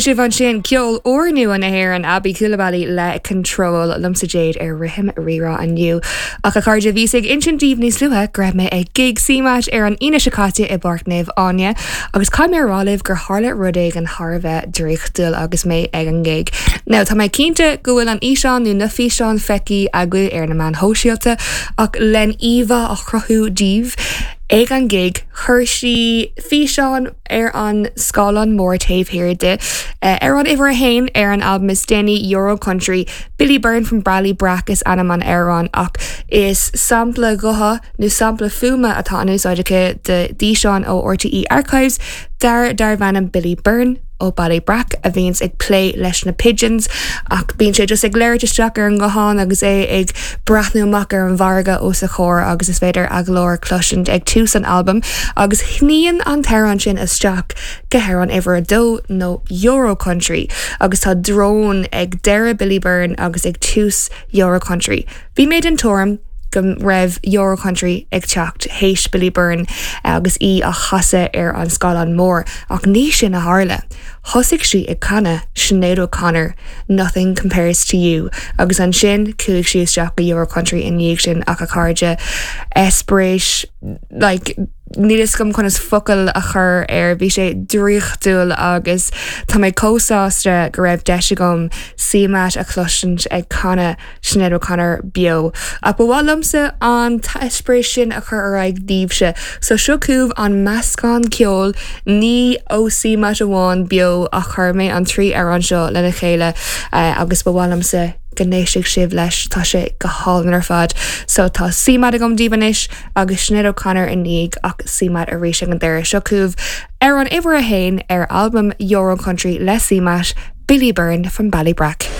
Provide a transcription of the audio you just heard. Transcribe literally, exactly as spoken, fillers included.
Sibh ansin ceol úrnua na hÉireann Aby Coulibaly le Control liomsa Jade ar Rithim Rírá inniu. Ach a chairde bhíos ag insint daoibh níos luaithe go raibh mé ag gig CMAT ar an Aoine seo caite i bPáirc Naomh Áine, agus caithfidh mé a rá libh gur tharla rud éigin thar a bheith draíochtúil agus mé ag an gig. Now tá mé cinnte go bhfuil an físeán nó na físeáin feicthe agaibh ar na meáin shóisialta ach len íomhá a chruthú daoibh. Ag an gig chuir sí físeán ar an scáileán mór taobh thiar di. Uh, ar an uimhir a haon ar an album is déanaí Euro Country, Billy Byrne from Ballybrack is ainm an amhráin ach is sampla gutha nó sampla fuaime atá in úsáid aici de d'fhíseán ó RTÉ Archives d'fhear darbh ainm Billy Byrne ó Ballybrack a bhíonns ag plé leis na pigeons ach bíonn sé just ag labhairt isteach ar an nguthán agus é ag breathnú amach ar an bhfarraige os a chomhair agus is féidir a ghlór cloisint ag tús an album agus shníonn an t-amhrán sin isteach go hamhrán uimhir a dó nó Euro Country agus tá drón ag deireadh Billy Byrne agus ag tús Euro Country. Bhí mé den tuairim go raibh Euro Country ag teacht théis Billy Byrne agus í á chasadh ar an scáileán mór ach ní sin a tharla. Thosaigh sí ag canadh Sinéad O'Connor, Nothing Compares to You, agus ansin chuaigh sí isteach go Euro Country i ndiaidh sin ach a chairde eispéireas like, níl fhios agam conas focail a chur ar bhí sé draíochtúil agus tá mé chomh sásta go raibh deis agam CMAT a chloisint ag canadh Sinéad O'Connor beo. Ach ba mhaith liomsa an t-eispéireas sin a chur ar aghaidh daoibhse, so seo chugaibh an meascán ceoil ní ó CMAT amháin beo ach chuir mé an trí amhrán seo lena chéile uh, agus ba mhaith liomsa go n-éistfidh sibh leis tá sé go hálainn ar fad. So tá CMAT agam daoibh anois agus Sinéad O'Connor i ndiaidh ach CMAT arís ag an deireadh seo chugaibh ar an uimhir a haon ar album Euro Country le CMAT, Billy Byrne from Ballybrack.